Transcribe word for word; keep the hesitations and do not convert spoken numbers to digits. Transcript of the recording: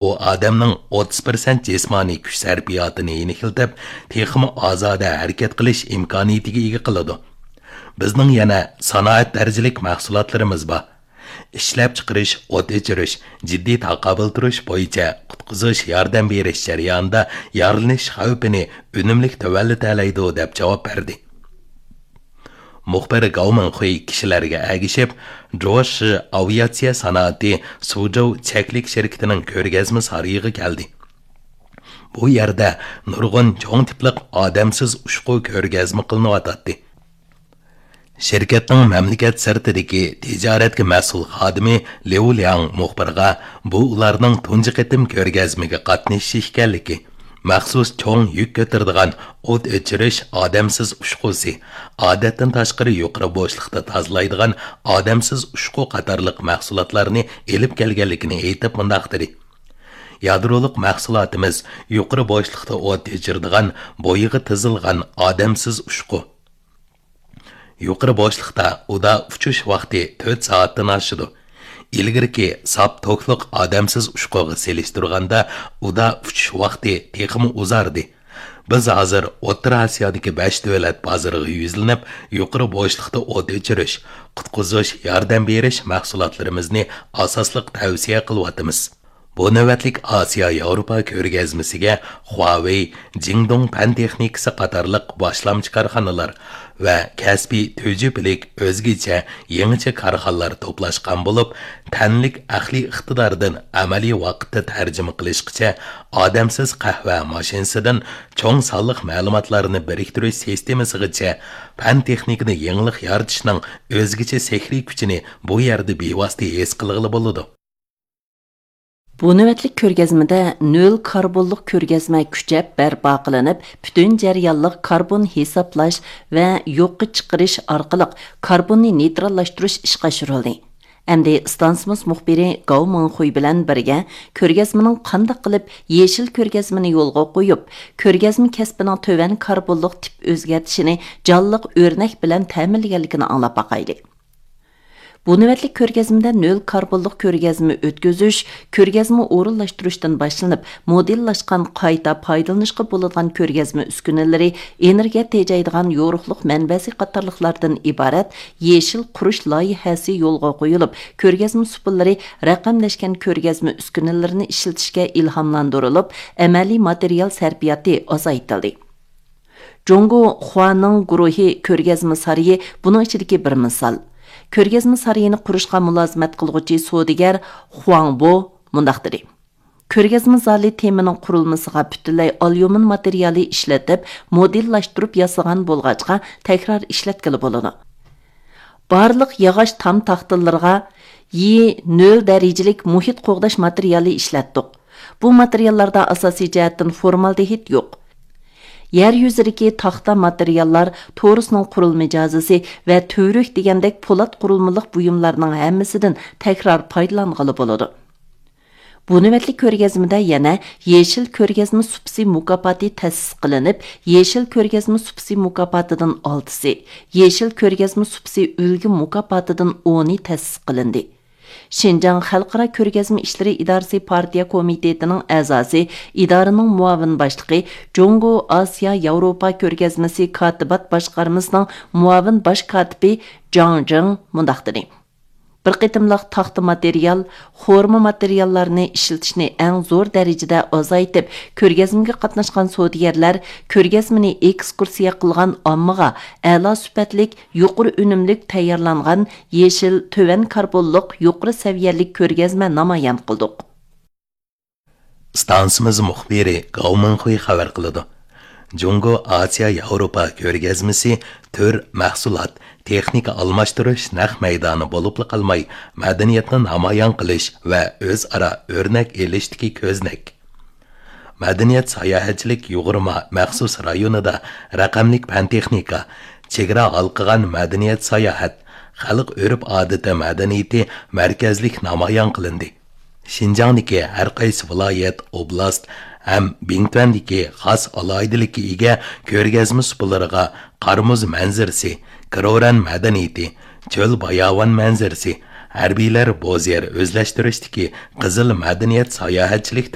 ئۇ ئادەمنىڭ ئوتتۇز پىرسەنت جىسمانىي كۈچ سەرپىياتىنى يېنىكلىتىپ، تېخىمۇ ئازادە ھەرىكەت قىلىش ئىمكانىيىتىگە ئىگە قىلىدۇ. بىزنىڭ يەنە سانائەت دەرىجىلىك مەھسۇلاتلىرىمىز بار. ئىشلەپچىقىرىش، ئوت ئۆچۈرۈش، جىددىي تاقابىل تۇرۇش بويىچە قۇتقۇزۇش، ياردەم بېرىش جەريانىدا يارىلىنىش خەۋپىنى ئۈنۈملۈك تۆۋەنلىتەلەيدۇ، دەپ جاۋاب بەردى. مۇخبىر گاۋ مىڭخۇي كىشىلەرگە ئەگىشىپ، جوشى ئاۋىئاتسىيە سانائىتى سۇجوۋ چەكلىك شىركىتىنىڭ كۆرگەزمە سارىيىغا كەلدى. بۇ يەردە نۇرغۇن چوڭ تىپلىق ئادەمسىز ئۇچقۇ كۆرگەزمە قىلىنىۋاتاتتى. شىركەتنىڭ مەملىكەت سىرتىدىكى تىجارەتكە مەسئۇل خادىمى ليۇ لياڭ مۇخبىرغا بۇ ئۇلارنىڭ تۇنجى قېتىم كۆرگەزمىگە قاتنىشىشى ئىكەنلىكى، مەخسۇس چوڭ يۈك كۆتۈرىدىغان ئوت ئۆچۈرۈش ئادەمسىز ئۇچقۇسى، ئادەتتىن تاشقىرى يۇقىرى بوشلۇقتا تازىلايدىغان ئادەمسىز ئۇچقۇ قاتارلىق مەھسۇلاتلارنى ئېلىپ كەلگەنلىكىنى ئېيتىپ مۇنداق دېدى: يادرولۇق مەھسۇلاتىمىز يۇقىرى بوشلۇقتا ئوت ئۆچۈرىدىغان بويىغا تىزىلغان ئادەمسىز ئۇچقۇ. يۇقىرى بوشلۇقتا ئۇدا ئۇچۇش ۋاقتى تۆت سائەتتىن ئاشىدۇ. ئىلگىرىكى ساپ توكلۇق ئادەمسىز ئۇچقۇغا سېلىشتۇرغاندا ئۇدا ئۇچۇش ۋاقتى تېخىمۇ ئۇزاردى. بىز ھازىر ئوتتۇرا ئاسىيادىكى بەش دۆلەت بازىرىغا يۈزلىنىپ، يۇقىرى بوشلۇقتا ئوت ئۆچۈرۈش، قۇتقۇزۇش، ياردەم بېرىش مەھسۇلاتلىرىمىزنى ئاساسلىق تەۋسىيە قىلىۋاتىمىز. بۇ نۆۋەتلىك ئاسىيا ياۋروپا كۆرگەزمىسىگە خۇاۋېي، جىڭدۇڭ پەن تېخنىكىسى قاتارلىق باشلامچى كارخانىلار ۋە كەسپىي تۈجۈپىلىك ئۆزگىچە يېڭىچە كارخانىلار توپلاشقان بولۇپ، تەنلىك ئەقلىي ئىقتىداردىن ئەمەلىي ۋاقىتتا تەرجىمە قىلىشقىچە، ئادەمسىز قەھۋە ماشىنىسىدىن چوڭ سانلىق مەلۇماتلارنى بىرىكتۈرۈش سىستېمىسىغىچە پەن تېخنىكىنى يېڭىلىق يارىتىشنىڭ ئۆزگىچە سېھرىي كۈچىنى بۇ يەردە بىۋاسىتە ھېس قىلغىلى بولىدۇ. بۇ نۆۋەتلىك كۆرگەزمىدە نۆل كاربونلۇق كۆرگەزمە كۈچەپ بەرپا قىلىنىپ، پۈتۈن جەريانلىق كاربون ھېسابلاش ۋە يوققا چىقىرىش ئارقىلىق كاربوننى نېيتراللاشتۇرۇش ئىشقا ئاشۇرۇلدى. ئەمدى ئىستانسىمىز مۇخبىرى گاۋ مىڭخۇي بىلەن بىرگە كۆرگەزمىنىڭ قانداق قىلىپ يېشىل كۆرگەزمىنى يولغا قويۇپ، كۆرگەزمە كەسپىنىڭ تۆۋەن كاربونلۇق تىپ ئۆزگەرتىشىنى جانلىق ئۆرنەك بىلەن تەمىنلىگەنلىكىنى ئاڭلاپ باقايلى. بۇ نۆۋەتلىك كۆرگەزمىدە نۆل كاربونلۇق كۆرگەزمە ئۆتكۈزۈش، كۆرگەزمە ئورۇنلاشتۇرۇشتىن باشلىنىپ، مودېللاشقان قايتا پايدىلىنىشقا بولىدىغان كۆرگەزمە ئۈسكۈنىلىرى، ئېنېرگىيە تېجەيدىغان يورۇقلۇق مەنبەسى قاتارلىقلاردىن ئىبارەت يېشىل قۇرۇش لايىھەسى يولغا قويۇلۇپ، كۆرگەزمە سۇپىلىرى رەقەملەشكەن كۆرگەزمە ئۈسكۈنىلىرىنى ئىشلىتىشكە ئىلھاملاندۇرۇلۇپ، ئەمەلىي ماتېرىيال سەرپىياتى ئازايتىلدى. جۇڭگو خۇانىڭ گۇرۇھى كۆرگەزمە سارىيى بۇنىڭ ئىچىدىكى بىر مىسال. كۆرگەزمە سارىيىنى قۇرۇشقا مۇلازىمەت قىلغۇچى سودىگەر خۇاڭ بو مۇنداق دېدى: كۆرگەزمە زالى تېمىنىڭ قۇرۇلمىسىغا پۈتۈنلەي ئاليۇمىن ماتېرىيالى ئىشلىتىپ، مودېللاشتۇرۇپ ياسىغان بولغاچقا، تەكرار ئىشلەتكىلى بولىدۇ. بارلىق ياغاچ تام تاختىلىرىغا يى نۆل دەرىجىلىك مۇھىت قوغداش ماتېرىيالى ئىشلەتتۇق. بۇ ماتېرىياللاردا ئاساسىي جەھەتتىن فورمالدېھىد يوق. يەر يۈزىدىكى تاختا ماتېرىياللار، تورۇسنىڭ قۇرۇلما جازىسى ۋە تۈۋرۈك دېگەندەك پولات قۇرۇلمىلىق بۇيۇملارنىڭ ھەممىسىدىن تەكرار پايدىلانغىلى بولىدۇ. بۇ نۆۋەتلىك كۆرگەزمىدە يەنە يېشىل كۆرگەزمە سۇپىسى مۇكاپاتى تەسىس قىلىنىپ، يېشىل كۆرگەزمە سۇپىسى مۇكاپاتىدىن ئالتىسى، يېشىل كۆرگەزمە سۇپىسى ئۈلگە مۇكاپاتىدىن ئونى تەسىس قىلىندى. شىنجاڭ خەلقئارا كۆرگەزمە ئىشلىرى ئىدارىسى پارتىيە كومىتېتىنىڭ ئەزاسى، ئىدارىنىڭ مۇئاۋىن باشلىقى، جۇڭگو ئاسىيا ياۋروپا كۆرگەزمىسى كاتىبات باشقارمىسىنىڭ مۇئاۋىن باش كاتىپى جاڭ جىڭ مۇنداق دېدى: بىر قېتىملىق تاختا ماتېرىيال، خورما ماتېرىياللارنى ئىشلىتىشنى ئەڭ زور دەرىجىدە ئازايتىپ، كۆرگەزمىگە قاتناشقان سودىگەرلەر، كۆرگەزمىنى ئېكسكۇرسىيە قىلغان ئاممىغا ئەلا سۈپەتلىك، يۇقىرى ئۈنۈملۈك تەييارلانغان يېشىل، تۆۋەن كاربونلۇق، يۇقىرى سەۋىيەلىك كۆرگەزمە نامايان قىلدۇق. ئىستانسىمىز مۇخبىرى گاۋ مىڭخۇي خەۋەر قىلىدۇ. جۇڭگو ئاسىيا ياۋروپا كۆرگەزمىسى تۈر، مەھسۇلات، تېخنىكا ئالماشتۇرۇش نەق مەيدانى بولۇپلا قالماي، مەدەنىيەتنى نامايان قىلىش ۋە ئۆزئارا ئۆرنەك ئېلىشتىكى كۆزنەك. مەدەنىيەت ساياھەتچىلىك يۇغۇرما مەخسۇس رايونىدا رەقەملىك پەن تېخنىكا، چېگرا ھالقىغان مەدەنىيەت ساياھەت، خەلق ئۆرپ ئادىتى مەدەنىيىتى مەركەزلىك نامايان قىلىندى. شىنجاڭدىكى ھەر قايسى ۋىلايەت، ئوبلاست ھەم بىڭتۈەندىكى خاس ئالاھىدىلىككە ئىگە كۆرگەزمە سۇپىلىرىغا قار مۇز مەنزىرىسى، كروران مەدەنىيىتى، چۆل باياۋان مەنزىرىسى، ھەربىيلەر بوزيەر ئۆزلەشتۈرۈشتىكى قىزىل مەدەنىيەت ساياھەتچىلىك